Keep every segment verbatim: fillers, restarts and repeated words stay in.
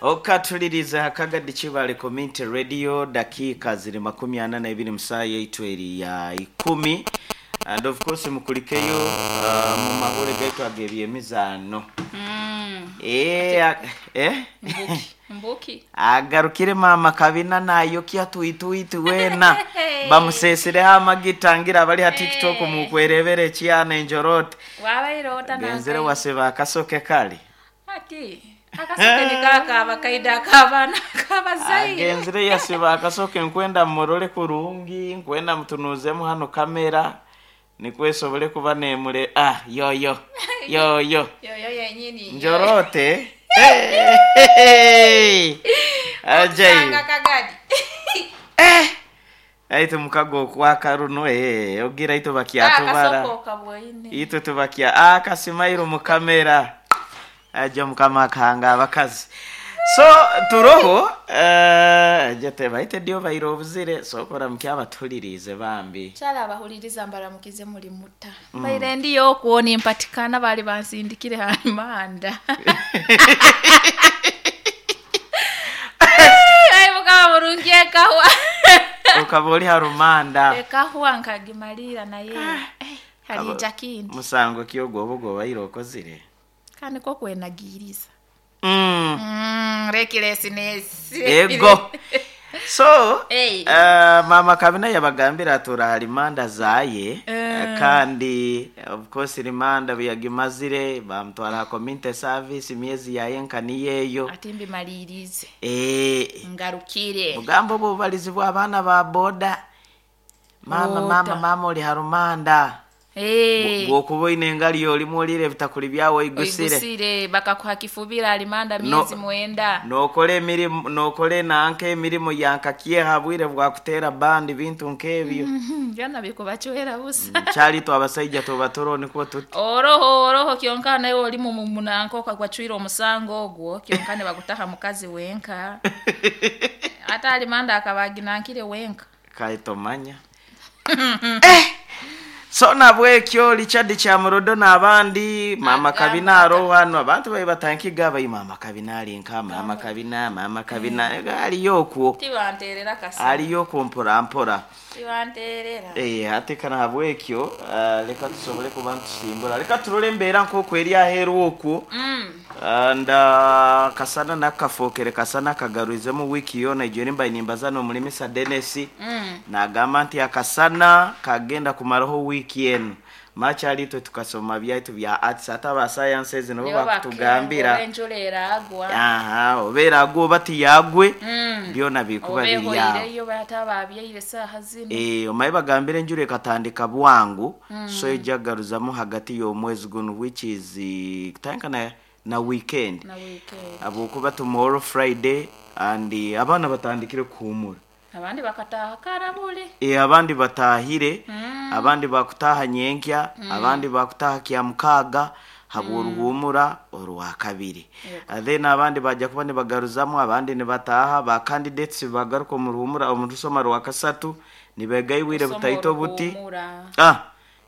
Okatuliriza Kagadi Kibale Community Radio, dakika ziri makumi ana na ibiri musaa yaitu eri ya ikumi. And of course mukulikeyo uh, mu mahule gaitu ag'ebyemizaano. Mm. Eh, a- eh? Mbuki. Mbuki. Agarukire mama Kabina nayokya tuituitu wena bamusesireho amagita ngira abali ha TikTok mukwerebera ekyana enjorote. Wabairota. Genzere waseba akasoke kali. Ati akasoke nikakaba kaida akabana kabazaire. Agenzere yasiba akasoke, nkwenda murole kurungi, nkwenda mutunuzemu hano kamera nikwesobole kuba nemule. Ah, yoyo yoyo. Yoyo yenyini. Njorote. Hey! Ajai. Sanga Kagadi. Eh! Aitu mukago okwaka runo, eh, ogira itu bakyatubara. Akasoko kabwaine. Itwe tubakya akasimairo mu kamera. Aja mukama akahanga abakazi. So turoho eh aja tebaite dio bairo obuzire sokora mukyabatulirize bambi. Kyala abahuliriza mbaramukize muri muta. Baire ndiyo okuona empatikana bali bansindikire halimanda. Ai mukama murungi ekahwa. Ukaba oli harumanda. Ekahwa nkagimalira naye. Eh, halija kindi. Musango kyo gwobo gwobaire okozire. Kandi ko kwenagiriza. Mm. Mm, recklessness. Ego. So, Hey. uh, mama Kabina yabagambira atura halimanda zaye. Eh. Kandi of course rimanda buyagimazire bamutwara ha community service imyezi yaye nkaniyeyo. Ati mbimalirize. Eh, Ngarukire. bugambo bubalizibwa abaana ba boda. Mama Ota. mama mama oli harumanda. Hey. Bwokuba oine engali olimu olire ebitakuli byawe oigusire. Oigusire bakakuha kifubira alimanda No. miezi mwenda. Nokola emirimu nokola enanka emirimu yankakyeha bwire bwakutera bandi bintu nk'ebyo. Byona bikubachwera busa. Kyali twe abasaija tuba turo nikwo tuti. Oroho oroho kyonka nawe oli mu munanko kwachwira omusango ogwo kyonka ne bagutaha mukazi wenka. Ata alimanda akabaginankire wenka. Kae tomanya. Eh! So nabwekyo Richard Kyamurodo n'abandi mama Agamba Kabina aroho hano abantu bayi batankiga bayi mama Kabina ali nka mama Kabina mama Kabina aliyo okwo. Tibanterera kasa. Aliyo okwo mpora mpora. Tibanterera. Eh, ate kana habwekyo uh, leka tusobole kuba ntusimbula leka turole embeera nk'okwo eri aheeru okwo. Mm. And uh, kasana nakafokere kasana kagaruizemu wiiki yona ijo nimba nimbaza n'omulimisa Dennis. Mm. Nagamba nti akasana kagenda kumaraho wiiki eno makyali itwe tukasoma byaitu bya arts ate aba sciences nabo Nibo bakutugambira. Enjura eragwa. Aha obeera agwe oba tiyagwe Mm. byona bikuba biri awo. Obehoireyo bata babyeire saaha zino. Eh, omaye bagambira enjura ekatandika bwangu mm. So ejagaruzamu hagati y'omwezi guno which is eh, kutandika na, na weekend. Na weekend. Abukuba tomorrow Friday and eh, abaana batandikire kuhumura. Abandi bakataha karabule. E, abandi batahire Mm. abandi bakutaha nyenkya mm. Abandi bakutaha kya mukaga habworuhumura orwa kabiri. Yego. Then abandi bajja kuba nibagaruzamu abandi nibataha ba candidates bagaruka mu ruhumura omu rusoma rwa kasatu nibegaiwire Kusoma butaito buti. oruhumura. Ah,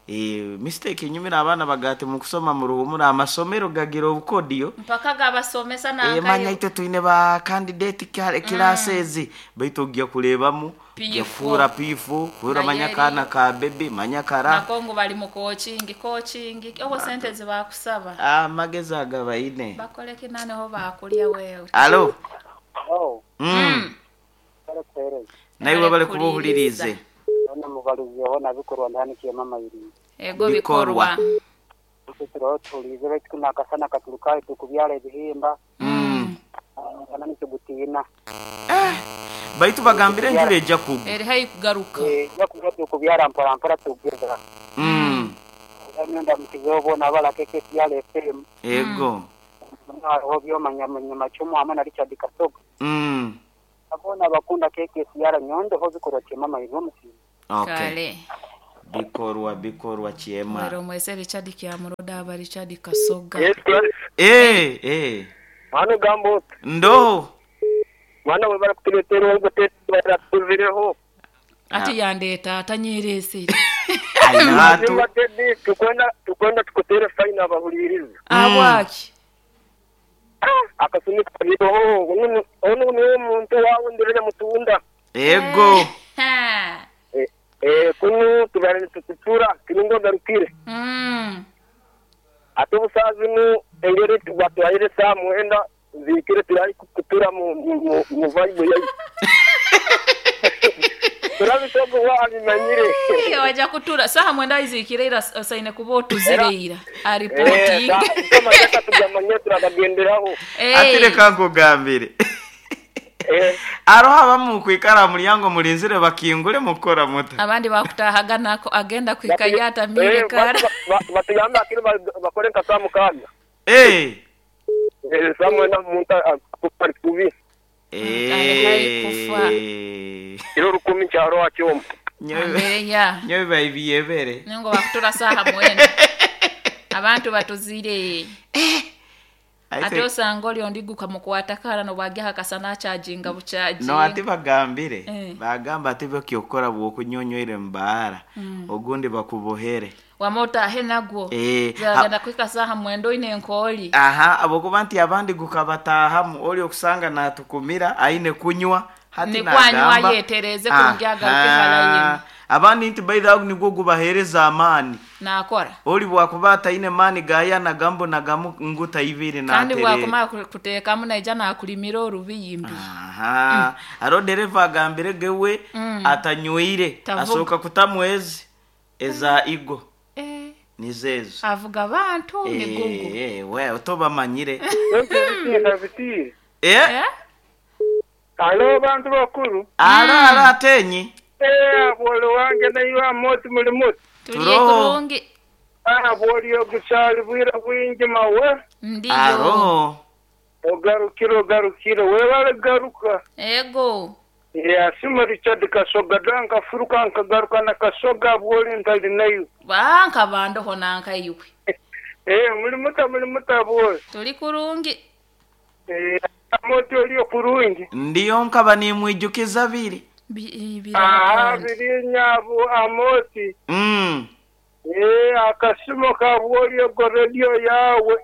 e, mistake enyumira abaana bagati mu kusoma mu ruhumura amasomero gagira obukodiyo. Mpaka gabasomesa E, manya nankayo. itwe twine ba candidate classes baitu ojja kurebamu P four. kufuura P four kufuura Naye manya eri- kana ka baby manya kara. Nakongo bali mu coaching coaching obo sente zibakusaba. Amagezi agabaine. Bakole kinane ho bakulya wewe. Alo. Oh, Mm. bari kuhereza. Naiwe bari Bari kubuhulirize. None mubarizeho nabikorwa ndahanikiye mama yiri. Ego Bikorwa. bikorwa. Tutiro tulize baitu nakasana katurukaye tukubyala ebihimba. Mm. Kana nikigutina. Baitu bagambire enjura ejja kugwa. Eri hayi kugaruka. Eh, yakuja tukubyala mpora mpora tugeza. Mm. Myenda mukizeho bona abala K K S R F M. Ego. Hariho byoma Nyamacumu hamwe na Richard Kasoga. Mm. Abona bakunda K K S R nyondo ho bikorwa kyema mayiri omusizi. Okay. Kale. Bikorwa bikorwa kyema. Mwero mwese Richard Kyamuroda aba Richard Kasoga. Yes, Clarisse. Eh, eh. Mwana gambo, Ndo. mwana we barakutuletera ubwo tatuvireho. Ati yandeeta atanyerese. Aina tu. Tukwenda tukwenda tukutere faina abahuliriza. Abwaki. Akasumi kabiroho onu onu niwe omuntu wawe ndirire mutunda. Ego. Ha. Eh, eh kunu tubare tukutura kirungo garukire. Mm. Ate obusazi nu engeri batwayire saa mwenda zikire turari kutura mu mu mu vibe yayi. Turabitogo wabimanyire. Eh, waja kutura saha mwenda izikire ira osaine kuba otuzire ira aripoti. Eh, amateka tugamanye turagagenderaho. Ati reka nkugambire. Eh, Aroho abamu kwikara mulyango mulinzire bakingule mukora muta. Abandi bakutahaga nako agenda kwikayata mire eh, kara. batu- ba- batugamba akiri ba- bakore nka saa mukaaga. Eh. Eh, saa mwenda omuntu akupari kubi. Ari kufa. Eh. Kiro rukumi kyaro akyoma. Nyowe Mbere ya. nyowe baibiyebere. Ningo bakutura saha mwenda. Abantu batuzire. Ate osanga oli ondiguka mukwata kara nobwagya hakasana achajinga buchaji. No ati bagambire. Eh. Bagamba ati byokyokora bwokunyonyoire mbaara. Ogundi bakubohere. Wamota ahe nagwo. Eh, Zagenda kwika saha mwenda oine enkoli. Aha, abokuba nti abandi gukabatahamu oli okusanga natukumira aine kunywa hati Nikwanywa nagamba yetereze kurungi agaruke harayi. Abandi nti by the way nigwo gubahereza amaani. Nakora. Oli bwakuba ataine maani gaya nagambo nagamu nguta ibiri Kandi naterere. bwakumara kuteekamu naija nakulimira orubiyimbi. Aha. Aro dereva agambire gewe atanywire Tavuga. asoka kutamwezi eza igo Eh, nizezo. avuga abantu migugu. Eh, eh, we otobamanyire. Biti. Eh? Eh? Alo bantu bakuru. Alo alo atenyi. Eh, abole wange nayo amoti muri muti. Tuliye Turoho. kurungi. Ah, aboli ogukyali bwira bwingi mawe. Ndiyo. Aro. Ogarukire ogarukire webale garuka. Ego. Yasima Richard Kasoga danka furuka nkagaruka na Kasoga bwoli ntali nayo. Banka bandoho nanka iwe. Eh, muri muta muri muta bwoli. Tuli kurungi. Eh, amoti oliyo kurungi. Ndiyo nkaba nimwijukiza biri. Bi- Aha, birahandi. biri nyabo amoti. Mm. Eh, akasimo ka bwoli ogo radio yawe.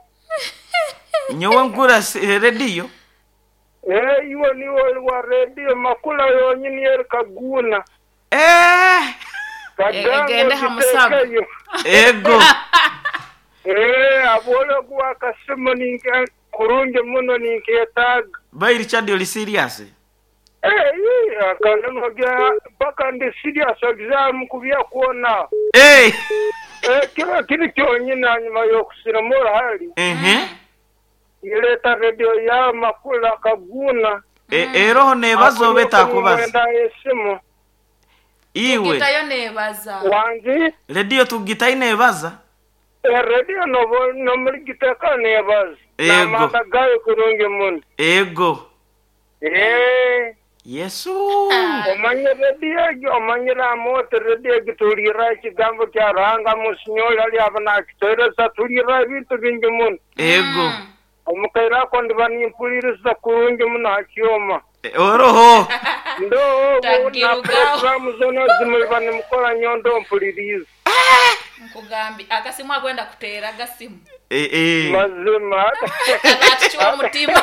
Nyowe nkura si- radio. Eh, iwe niwe oli wa radio makula yonyini yeri kaguna. Eh. Kagango egende ha musago. gitekeyo. Ego. Eh, abwoli ogo akasimo ninke kurungi muno ninketaaga. Bai Richard oli serious. Eh, eh, akanenoga mpaka ndi serious exam kubya kuona. Eh. Eh, kiro kiri kyonyini hanyuma y'okusirima orahari. Mhm. Ireeta radio ya makula kaguna. E eroho nebazo betakubaza. Mwenda esimu. Iwe. Gitayo nebaza. Wangi Radio tugitayi nebaza. eh, radio nobo nomuri giteka nebaza. Ego. N'amanda gayo kurungi muno. Ego. Eh, Yesu. omanye radio egyo omanyire amote radio egyo tulira ekigambo kya Ruhanga musinyoli ali aba nakitoereza tulira ebintu bingi muno. Ego. Omukaire ako ndiba nimpuliriza kurungi muno ha kyoma. E, Oroho. Ndo na Tagirugaho. programu zona zimuliba nimukora nyondo mpuliriza. Nkugambi akasimu agwenda kuteera agasimu. Eh eh. Mazima. Akatukiwa omutima.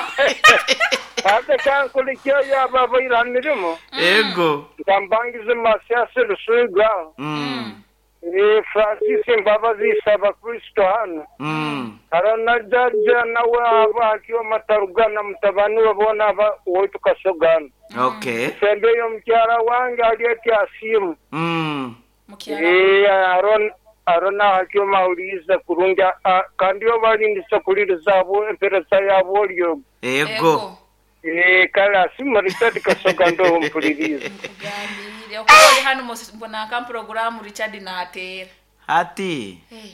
Ate kankulikyo yaba abaira mirimo. Ego. Ngambangize Masiasi Rusuiga. Mm. Eh, Francis Mbabazi isaba Kristo hano. Mm. Harana jaja nawe aba akiwa matarugana mutabani we bona aba waitu kasogana. Okay. Sembeyo mukyala wange alieti asimu. Mm. Mukyala. Eh, Aron Arona akiwa mauliza kurungi a- kandi yo balindisa kuliriza abo empereza yabo olyo. Ego. Eh, kale asimu Richard Kasoga ndo mpuliriza. Nkugambire okuba oli hano musi- mbona nka programu Richard nateera. Ati. Eh.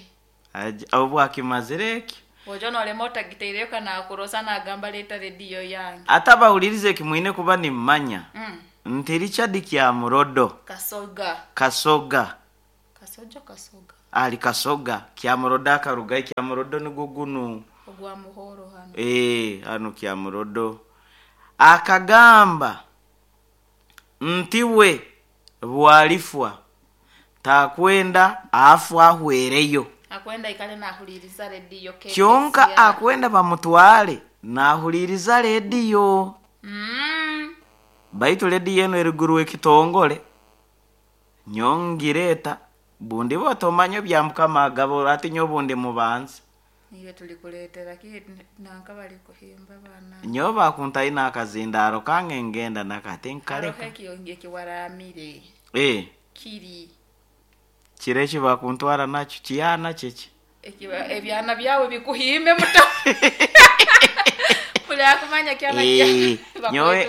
Aje- Obu akimazire ekyo. Ojo nolema otagiteireyo kanakurosa nagamba leeta rediyo yange. Ate abawuliriza ekimwine kuba nimmanya. Mm. Nti Richard Kyamurodo Kasoga. Kasoga Kasojo kasoga. ali Kasoga Kyamurodo akaruga Kyamurodo nigwo gunu Ogwa muhoro hano. eh hano Kyamurodo akagamba nti we bwalifwa takwenda afu ahwereyo Akwenda ikale nahuliriza rediyo K P C R. kyonka akwenda bamutwale Nahuliriza rediyo. Mm. Baitu rediyo eno eriguru ekitongole. Nyongireta bundi botomanya bya mukama agabo ati nyo bundi mubanza. Niyo tulikuletera ki nanka bali kuhimba bana. Nyo bakuntayi nakazindaro kange ngenda nakati nkaleka. Haroho ekiyonge kiwaramire. Eh. Kiri. Kirechi bakuntwara nakyo kiyana kiki. Ekiba ebyana byawe bikuhimbe muto. Kula kumanya kyana Eh, kya. nyowe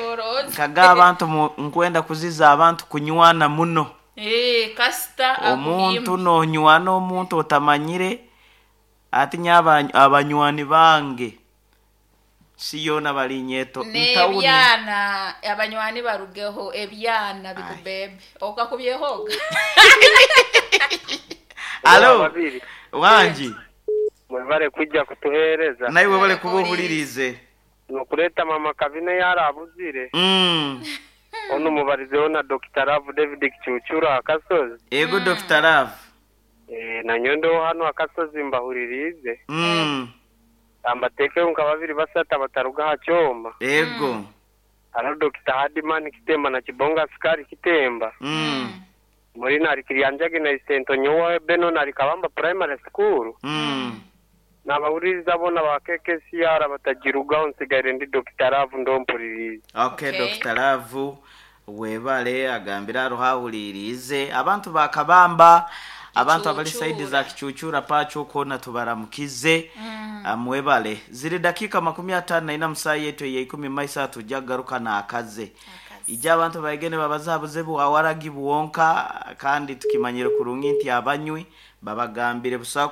nkaga abantu mu- nkwenda kuziza abantu kunywana muno. Eh, kasita Omuntu nonywana omuntu otamanyire ati nya abanywani bange siyona bali nyeto ntawuni. Nebyana abanywani barugeho ebyana bikubebe okakubyehoga. Alo Babiri. wanji Mwebale kujja kutuhereza. nawe webale kuba ohulirize. Nokuleta mama kabine yarabuzire. Mm. Ono mubarizeho na Doctor Love David Kichuchura akasozi. Ego Doctor Love. Eh, na nyondo hano akasozi mbahuririze. Mm. Ambateke nka babiri basata bataruga ha kyoma. Ego. Haro Doctor Hadiman Kitemba na Kibonga Sukari Kitemba. Mm. Muri nari Kiryanjage na Isento nyowe Beno nari Kabamba Primary School. Mm. Nabahuririza bona ba K K C R batagirugaho nsigaire ndi Doctor Love ndompuririze. Okay, Okay. Doctor Love webale agambira aruhahuririze abantu bakabamba abantu abali Kichuchura. saidi za kichuchura pacho kona tubaramukize mm. Mwebale ziri dakika makumi atano na ina musayi yetu ya ikumi maisa tujagaruka na akaze ijja abantu baigene babazabuze buwawaragi buwonka kandi tukimanyire kurungi nti abanywi babagambire busa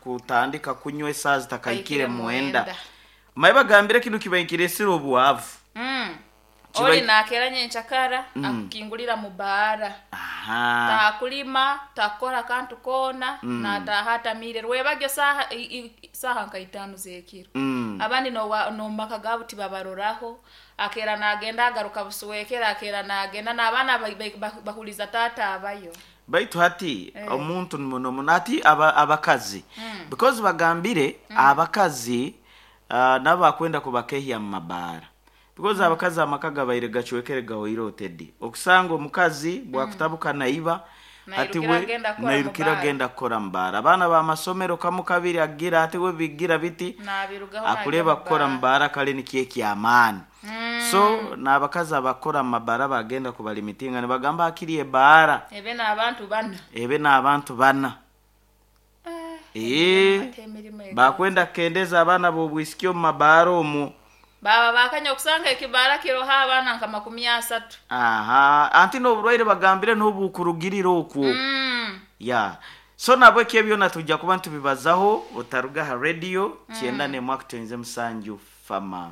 kutandika kunywa esaa zitakaikire Kaikire mwenda mwenda. maye bagambire kinu kibaikire obuwavu Mm. Kiba- Oli nakera nyenchakara mm. akukingulira mu baara. Aha. Takulima takora kantu kona mm. natahatamire rwebagyo saha i, i, saha nka itano zekiro Mm. abandi no no maka gabo tibabaroraho akera nagenda agaruka busuwekera akera nagenda n'abaana bahuliza tata abayo Baitu hati eh. Omuntu muno muno ati aba, abakazi mm. Because bagambire mm. Abakazi uh, nabo bakwenda kubakehya mu mabaara because mm. Abakazi amaka gabaire gacwekere gahoire otedi okusanga omukazi bwakutabuka naiba ati Nairukira we agenda kukora nairukira mu baara. agenda kukora mu baara abaana b'amasomero kamu kabiri agira ati we bigira biti nabirugaho akureba kukora mu baara kale nikyo ekyamaani Mm. So n'abakazi abakora mu mabaara bagenda kubalimitinga nibagamba akiri ebaara ebe n'abantu bana ebe n'abantu bana Eh, Eh, ate emirimo ega. bakwenda kukendeza abaana b'obwisiki omu mabaara omwo baba bakanya okusanga ekibaara kiroho abaana nka makumi asatu aha anti n'oburwaire bagambire n'obukurugirira okwo Mm. ya so nabwo ekyo byona tujja kuba ntubibazaho otaruga ha radio kyenda nemwe akutenze musanju fama.